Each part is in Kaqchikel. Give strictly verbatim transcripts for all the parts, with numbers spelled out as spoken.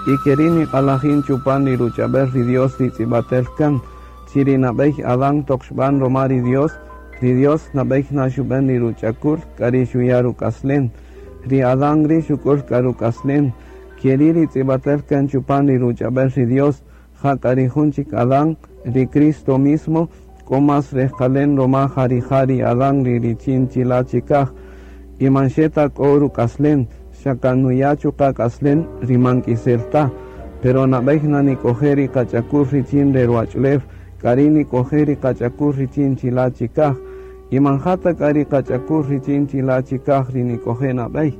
Y keri' niq'alajin chupan ri ruch'ab'el ri Dios ri tz'ib'atel kan, chi ri nab'ey Adán toq xb'an roma ri Dios, ri Dios nab'ey na xub'en ri ruch'akul k'a ri xuya' ruk'aslen. Ri Adán ri xuk'ul k'a ruk'aslen, keri' ri tz'ib'atel kan chupan ri ruch'ab'el ri Dios, ja k'a ri jun chik Adán, ri Cristo mismo, k'o más rejqalen roma ja rija' ri Adán ri richin chila' chikaj, y man xe ta k'o ruk'aslen, xa kan nuya' chuqa' k'aslen ri man k'isel ta, pero nab'ey na nik'oje' ri qach'akul richin re ruwach'ulew, k'a ri' nik'oje' ri qach'akul richin chila' chikaj, y man ja ta k'a ri qach'akul richin chila' chikaj ri nik'oje' nab'ey,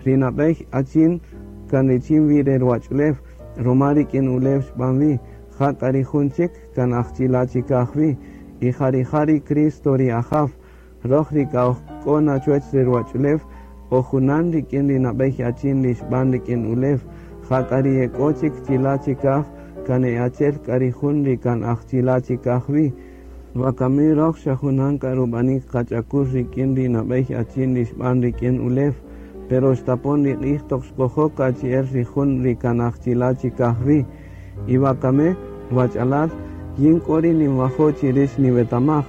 ri nab'ey achin kan richin wi re ruwach'ulew, roma rik'in ulew xb'an wi, ja k'a ri jun chik kan aj chila' chikaj wi, y ja rija' ri Cristo ri Ajaw, roj ri k'a oj k'o na chuwach re ruwach'ulew, o junan rik'in ri nab'ey achin ri xb'an rik'in ulew, ja k'a ri ek'o chik chila' chikaj, kan e achi'el k'a ri jun ri kan aj chila' chikaj wi. Wakami roj xa junan k'a rub'anik qach'akul rik'in ri nab'ey achin ri xb'an rik'in ulew, pero xtapon ri q'ij toq xkojok achi'el ri jun ri kan aj chila' chikaj wi. Y wakami, wach'alal, yin k'o ri ninwajo' chi rix niwetamaj,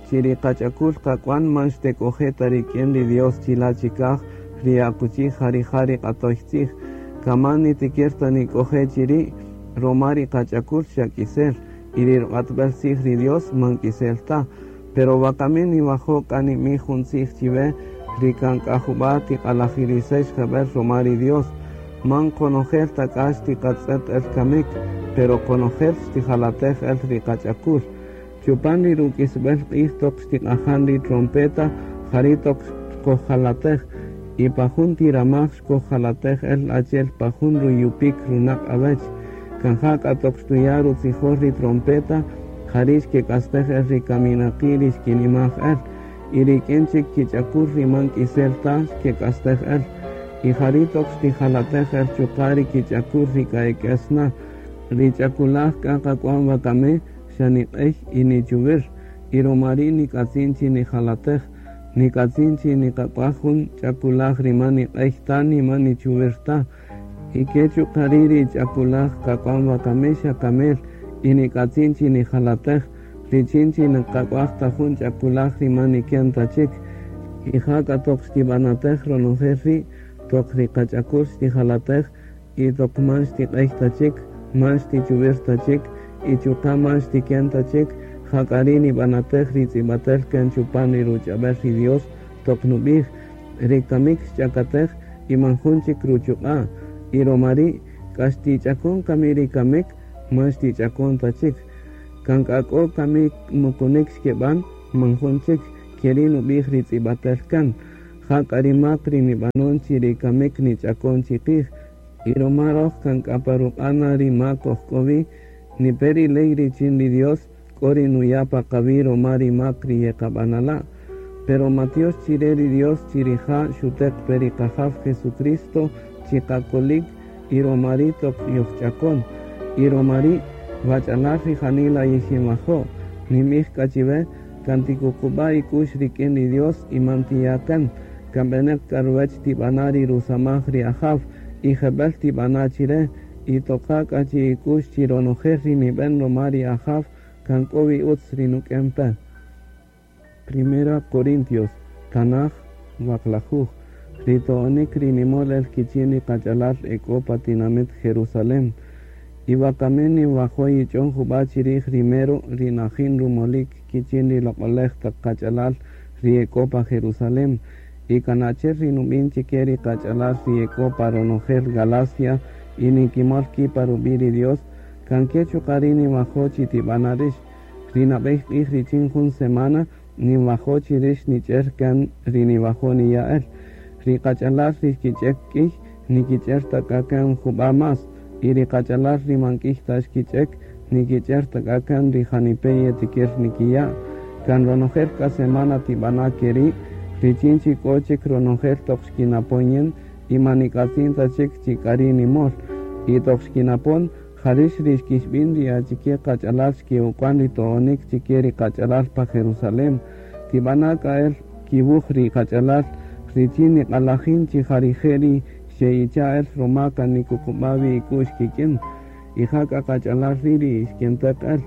chi ri qach'akul qak'wan man xtek'oje' ta rik'in ri Dios chila' chikaj, ri akuchi ja rija' ri q'atoy tzij, kaman nitikir ta nik'oje' chiri', roma ri qach'akul xa k'isel, y ri ruq'atb'al tzij ri Dios man k'isel ta. Pero wakami niwajo' k'a nimij jun tzij chiwe, ri kan k'a jub'a' tiq'alajirisex jeb'el roma ri Dios, man qonojel ta k'a xtiqatz'et el kamik, pero qonojel xtijalatej el ri qach'akul. Chupan ri ruk'isb'el q'ij toq xtiq'ajan ri trompeta, jari' toq xkojjalatej, y pa jun tiramaj xkojjalatej el achi'el pa jun ruyupik runaq' awech. Kan ja k'a toq xtuya' rutzijol ri trompeta, jari' xkek'astej el ri kaminaqi' ri xkinimaj el, y rik'in chik kich'akul ri man k'isel ta xkek'astej el, y jari' toq xtijalatej el chuqa' ri kich'akul ri k'a ek'es na. Ri ch'akulaj k'a qak'wan wakami xa niq'ey y nichuwir, y roma ri' nik'atzin chi nijalatej, nik'atzin chi niqak'uaj jun ch'akulaj ri man niq'ey ta ni man nichuwir ta, y ke chuqa' ri' ri ch'akulaj qak'wan wakami xa kamel, y nik'atzin chi nijalatej, richin chi niqak'uaj ta jun ch'akulaj ri man niken ta chik, y ja k'a toq xtib'anatej ronojel ri', toq ri qach'akul xtijalatej, y toq man xtiq'ey ta chik, man xtichuwir ta chik, y chuqa' man xtiken ta chik, ja k'a ri' nib'anatej ri tz'ib'atel kan chupan ri ruch'ab'el ri Dios, toq nub'ij, ri kamik xch'akatej y man jun chik ruchuq'a', y roma ri' k'a xtich'akon kami ri kamik, man xtich'akon ta chik. Kan k'a k'o kami mukunik xkeb'an, man jun chik, keri' nub'ij ri tz'ib'atel kan. Ja k'a ri mak ri nib'anon chi ri kamik nich'akon chiqij, y roma roj kan k'a pa ruq'ana ri mak oj k'o wi, nipe ri ley richin ri Dios, k'o ri nuya' pa qawi' roma ri mak ri yeqab'anala'. Pero matiox chire ri Dios chi rija' xuteq pe ri Qajaw Jesucristo chiqakolik y roma ri' toq yojch'akon, y roma ri' wach'alal ri janila yixinwajo', nimij k'a chiwe, kan tikuqub'a' ik'u'x rik'in ri Dios y man tiya' kan, kan b'eneq k'a ruwech tib'ana' ri rusamaj ri Ajaw, y jeb'el tib'ana' chire, y toqa k'a chi ik'u'x chi ronojel ri nib'en roma ri Ajaw, kan k'o wi utz ri nuk'en pe. Primera Corintios, Tanaj, Waqlajuj, ri to'onik ri nimol el kichin ri qach'alal ek'o pa tinamit Jerusalem. Y wakami ninwajo' yich'on jub'a' chirij ri mero ri najin rumolik kichin ri loq'olej taq qach'alal ri ek'o pa Jerusalem. Y kan achi'el ri nub'in chike ri qach'alal ri ek'o pa ronojel Galacia y nikimol ki' pa rub'i' ri Dios, kan ke chuqa' ri' ninwajo' chi tib'ana' rix. Ri nab'ey q'ij richin jun semana ninwajo' chi rix nich'er kan ri niwajo' niya' el. Ri qach'alal ri xkich'ek k'iy nikich'er ta k'a kan jub'a' más, y ri qach'alal ri man k'iy ta xkich'ek nikich'er ta k'a kan ri janipe' yetikir nikiya'. Kan ronojel k'a semana tib'ana' keri', richin chi k'o chik ronojel toq xkinapon yin, y man nik'atzin ta chik chi k'a ri' nimol. Y toq xkinapon, jarix ri xkixb'in ri achike qach'alal xke'uk'wan ri to'onik chike ri qach'alal pa Jerusalem. Tib'ana' k'a el kiwuj ri qach'alal richin niq'alajin chi ja rije' ri Xe'icha' el ruma kan nikuqub'a' wi ik'u'x kik'in y ja k'a qach'alal ri' ri xkenteq el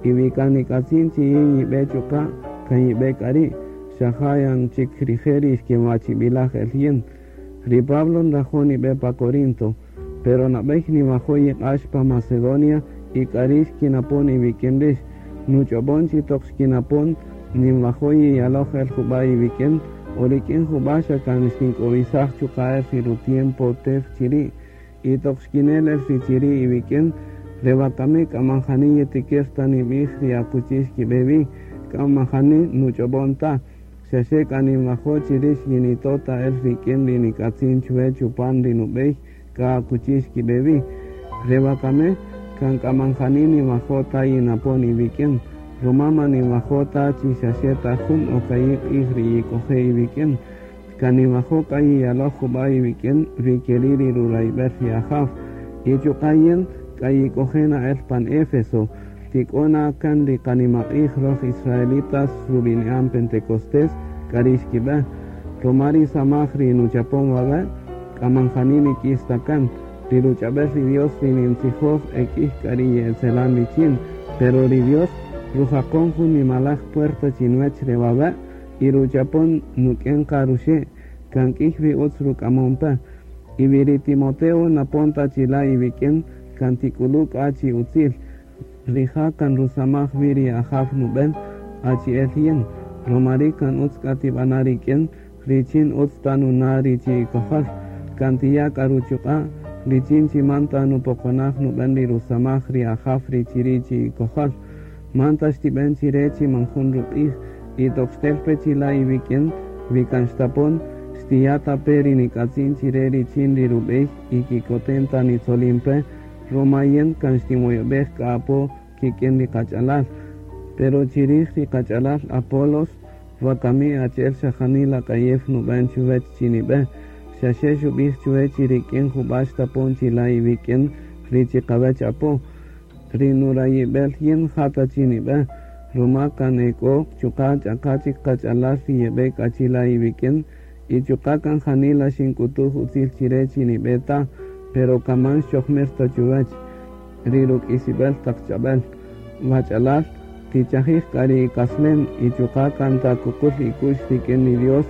y wi kan nik'atzin chi yin yib'e chuqa' kan yib'e k'a ri' xa ja yan chik rije' ri xkenwachib'ilaj el yin. Ri Pablo nrajo' nib'e pa Corinto, pero nab'ey niwajo' yiq'ax pa Macedonia y k'a ri' xkinapon iwik'in rix. Nuch'ob'on chi toq xkinapon ninwajo' yiyaloj el jub'a' iwik'in o rik'in jub'a' xa kan xtink'owisaj chuqa' el ri rutiempo tew chiri' y toq xkinel el ri chiri' iwik'in re wakami k'a man jani yitikir ta nib'ij ri akuchi xkib'e wi, k'a man jani nuch'ob'on ta, xa xe k'a ninwajo' chi rix yinito' ta el rik'in ri nik'atzin chwe chupan ri nub'ey k'a akuchi xkib'e wi. Re wakami kan k'a man jani ninwajo' ta yinapon iwik'in, ruma man ninwajo' ta chi xa xe ta jun o ka'i' q'ij ri yik'oje' iwik'in, kan ninwajo' k'a yiyaloj jub'a' iwik'in ri keri' ri rurayb'el ri Ajaw. Y chuqa' yin k'a yik'oje' na el pan Éfeso, tik'o na kan ri qanimaq'ij roj israelitas rub'ini'an Pentecostés k'a ri xkib'e, ruma ri samaj ri nuchapon wawe' k'a man jani nik'is ta kan, ri ruch'ab'el ri Dios ri nintzijoj ek'ij k'a ri ye'etzelan richin, pero ri Dios rujaqon jun nimalaj puerta chinwech re wawe' y ruchapon nuk'en qa ruxe' kan k'ij wi utz ruk'amon pe. Y wi ri Timoteo napon ta chila' iwik'in kan tik'ulu' k'a chi utzil, rija' kan rusamaj wi ri Ajaw nub'en achi'el yin, ruma ri' kan utz k'a tib'ana' rik'in richin utz ta nuna' ri chi ikojol, kan tiya' k'a ruchuq'a' richin chi man ta nupoqonaj nub'en ri rusamaj ri Ajaw ri chiri' chi ikojol, man ta xtib'en chire chi man jun ruq'ij y toq xtel pe chila' iwik'in wi kan xtapon xtiya' ta pe ri nik'atzin chire richin ri rub'ey y kikoten ta nitzolin pe, ruma yin kan xtinwoyob'ej k'a apo kik'in ri qach'alal. Pero chirij ri qach'alal Apolos wakami achi'el xa janila k'ayew nub'en chuwech chi nib'e, xa xe xub'ij chuwe chi rik'in jub'a' xtapon chila' iwik'in ri chiqawech apo. Ri nurayib'el yin ja ta chi nib'e, ruma kan ek'o chuqa' ch'aqa chik qach'alal ri yeb'e k'a chila' iwik'in y chuqa' kan janila xink'utuj utzil chire chi nib'e ta, pero kaman xchojmir ta chuwech ri ruk'isib'el taq ch'ab'el. Wach'alal, tichajij k'a ri ik'aslen y chuqa' kan ta kuqul ik'u'x rik'in ri Dios,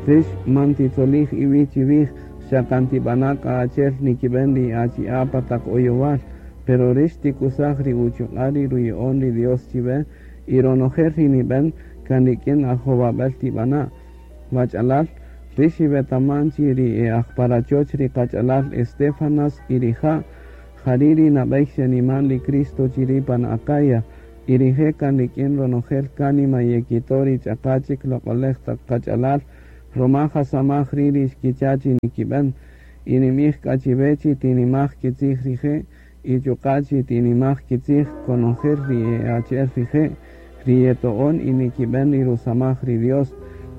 rix man titzolij iwi' chiwij, xa kan tib'ana' k'a achi'el nikib'en ri achi'a' pa taq oyowal, pero rix tikusaj ri uchuq'a' ri ruya'on ri Dios chiwe y ronojel ri nib'en kan rik'in ajowab'el tib'ana'. Wach'alal, rix iwetaman chi ri e aj pa rachoch ri qach'alal Estefanas y rija' jari' ri nab'ey xeniman ri Cristo chiri' pan Acaya, y rije' kan rik'in ronojel kánima yekito' ri ch'aqa chik loq'olej taq qach'alal, ruma jasamaj ri' ri xkicha' chi nikib'en, y nimij k'a chiwe chi tinimaj kitzij rije' y chuqa' chi tinimaj kitzij konojel ri e achi'el rije' ri yeto'on y nikib'en ri rusamaj ri Dios.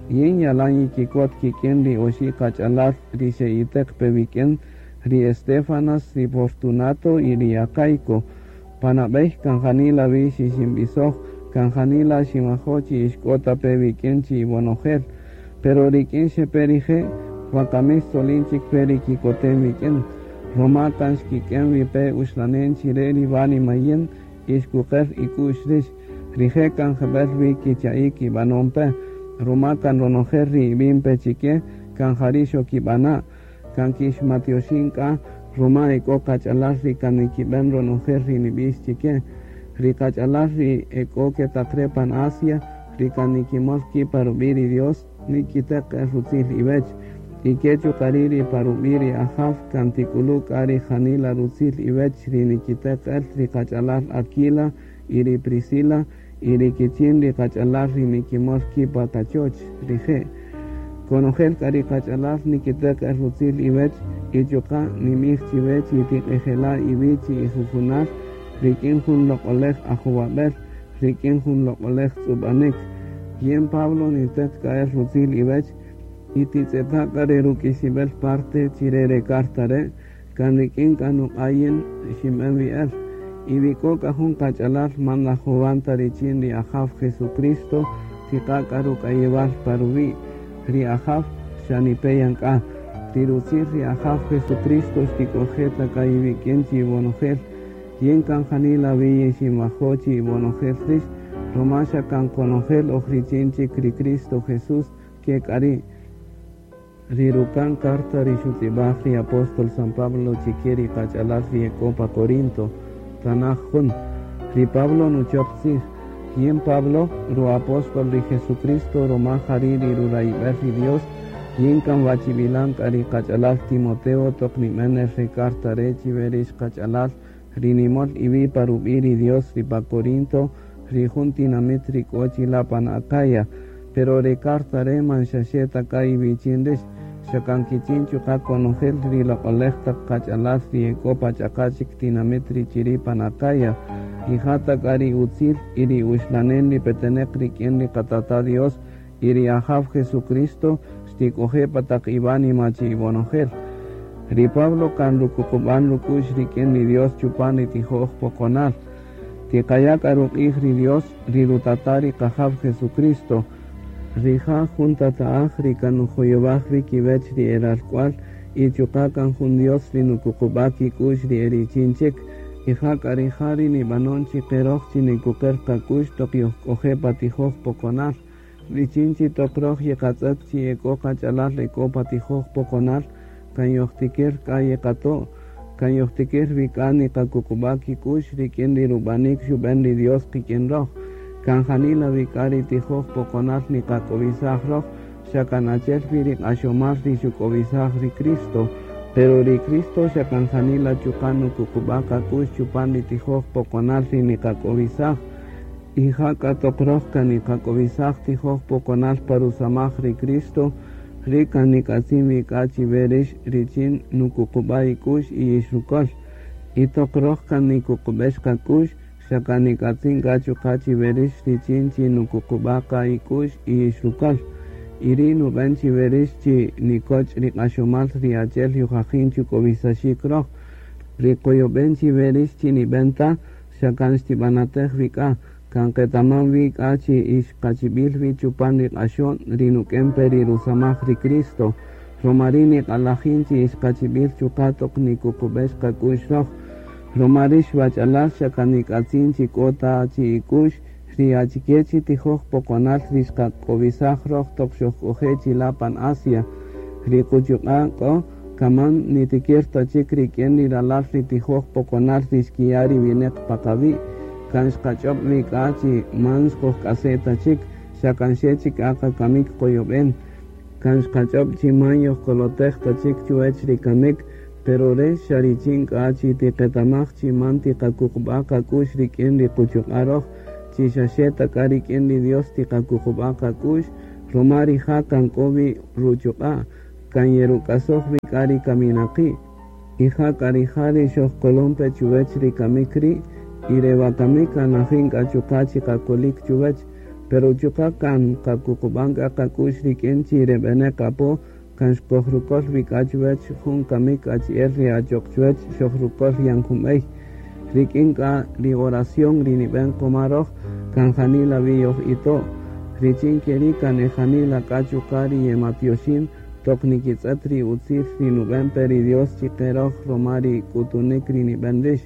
Yin yalan yikikot kik'in ri oxi' qach'alal ri xe'iteq pe wik'in, ri Estefanas, ri Fortunato y ri Acaico. Panab'ey kan janila wi xixinb'isoj, kan janila xinwajo' chi ixk'o ta pe wik'in chi iwonojel, pero rik'in xepe rije' wakami xtzolin chik pe ri kikotem wik'in, ruma kan xkik'en wi pe uxlanen chire ri wánima yin y xkuqer ik'u'x rix, rije' kan jeb'el wi kicha'ik kib'anon pe, ruma kan ronojel ri ib'in pe chike kan jari' xokib'ana', kan kixmatioxin k'a ruma ek'o qach'alal ri kan nikib'en ronojel ri nib'ix chike, ri qach'alal ri ek'o ketaq re pan Asia, ri kan nikimol ki' pa rub'i' ri Dios nikiteq el rutzil iwech, y ke chuqa' ri' ri pa rub'i' ri Ajaw kan tik'ulu' k'a ri janila rutzil iwech ri nikiteq el ri qach'alal Aquila y ri Priscila y ri kichin ri qach'alal ri nikimol ki' pa kachoch rije'. Konojel k'a ri qach'alal nikiteq el rutzil iwech y chuqa' nimij chiwe chi tiq'ejela' iwi' chi ijujunal rik'in jun loq'olej ajowab'el, rik'in jun loq'olej tz'ub'anik. Yin Pablo niteq k'a el rutzil iwech y titz'eta' k'a ri ruk'isib'el parte chire re carta re' kan rik'in k'a nuq'a' yin xinb'en wi el. Y wi k'o k'a jun qach'alal man najowan ta richin ri Ajaw Jesucristo tiqa' k'a ruk'ayewal pa ruwi' ri Ajaw xa nipe yan k'a. Ri rutzil ri Ajaw Jesucristo xtik'oje' ta k'a iwik'in chi iwonojel. Yin kan janila wi yixinwajo' chi iwonojel rix, roma xa kan qonojel oj richin chik ri Cristo Jesús ke k'a ri'. Ri ruka'n carta ri xutz'ib'aj ri apóstol San Pablo chike ri qach'alal ri e k'o pa Corinto, tanaj jun. Ri Pablo nuchop tzij. Yin Pablo, ru apóstol ri Jesucristo, roma jari' ri rurayb'el ri Dios, yin kan wachib'ilan k'a ri qach'alal Timoteo toq nib'en el re carta re' chiwe rix qach'alal ri nimol iwi' pa rub'i' ri Dios ri pa Corinto, ri jun tinamit ri k'o chila' pan Acaya. Pero re carta re' man xaxe ta k'a iwichin rix, xa kan kichin chuqa' konojel ri loq'olej taq qach'alal ri e k'o pa ch'aqa' chik tinamit ri chiri' pan Acaya. Y ja ta k'a ri utzil y ri uxlanen ri peteneq rik'in ri qatata' Dios y ri Ajaw Jesucristo xtik'oje' pa taq iwánima chi iwonojel. Ri Pablo kan rukuqub'an ruk'u'x rik'in ri Dios chupan ri tijoj poqonal. Tiqaya' k'a ruq'ij ri Dios, ri rutata' ri qajaw Jesucristo. Rija' jun tata'aj ri kan nujoyowaj wi kiwech ri e ralk'wal y chuqa' kan jun Dios ri nukuqub'a' kik'u'x ri e richin chik. Y ja k'a rija' ri nib'anon chi qeroj chi nikuqer qak'u'x toq yojk'oje' pa tijoj poqonal. Richin chi toq roj yeqatz'ët chi e k'o qach'alal e k'o pa tijoj poqonal, kan yojtikir k'a yeqato', kan yojtikir wi k'a niqakuqub'a' kik'u'x rik'in ri rub'anik xub'en ri Dios qik'in roj. Kan janila wi k'a ri tijoj poqonal niqak'owisaj roj, xa kan achi'el wi ri q'axomal ri xuk'owisaj ri Cristo. Pero ri Cristo xa kan janila chuqa' nukuqub'a' qak'u'x chupan ri tijoj poqonal ri niqak'owisaj. Y ja k'a toq roj kan niqak'owisaj tijoj poqonal pa rusamaj ri Cristo, ri kan nik'atzin wi k'a chiwe rix richin nukuqub'a' ik'u'x y yixrukol. Y toq roj kan nikuqub'ex qak'u'x, xa kan nik'atzin k'a chuqa' chiwe rix richin chi nukuqub'a' qa ik'u'x y yixrukol. Y ri' nub'en chiwe rix chi nikoch' ri q'axomal ri achi'el yojajin chuk'owisaxik roj. Ri qoyob'en chiwe rix chi nib'en ta, xa kan xtib'anatej wi k'a. Kan qetaman wi k'a chi ix qachib'il wi chupan ri q'axo'n ri nuk'en pe ri rusamaj ri Cristo. Roma ri' niq'alajin chi ix qachib'il chuqa' toq nikuqub'ex qak'u'x roj. Roma rix wach'alal xa kan nik'atzin chi k'o ta chi ik'u'x ri achike chi tijoj poqonal ri xqak'owisaj roj toq xojk'oje' chila' pan Asia. Ri quchuq'a' k'o kaman nitikir ta chik rik'in ri ralal ri tijoj poqonal ri xkiya' ri wineq pa qawi'. Kan xqach'ob' wi k'a chi man xqojk'ase' ta chik, xa kan xe chik k'a qakamik qoyob'en. Kan xqach'ob' chi man yojkolotej ta chik chuwech ri kamik, pero re xa richin k'a chi tiqetamaj chi man tiqakuqub'a' qak'u'x rik'in ri quchuq'a' roj, chi xa xe ta k'a rik'in ri Dios tiqakuqub'a' qak'u'x, roma rija' kan k'o wi ruchuq'a', kan yeruk'asoj wi k'a ri kaminaqi'. Y ja k'a rija' ri xojkolon pe chuwech ri kamik ri', y re wakami kan najin k'a chuqa' chi qakolik chuwech, pero chuqa' kan qakuqub'an k'a qak'u'x rik'in chi re b'eneq apo, kan xkojrukol wi k'a chuwech jun kamik achi'el ri achoq chuwech xojrukol yan jun b'ey. Rik'in k'a ri oración ri nib'en qoma roj, kan janila wi yoj ito'. Richin keri' kan e janila k'a chuqa' ri yematyoxin toq nikitz'ët ri utzil ri nub'en pe ri Dios chiqe roj roma ri k'utunik ri nib'en rix.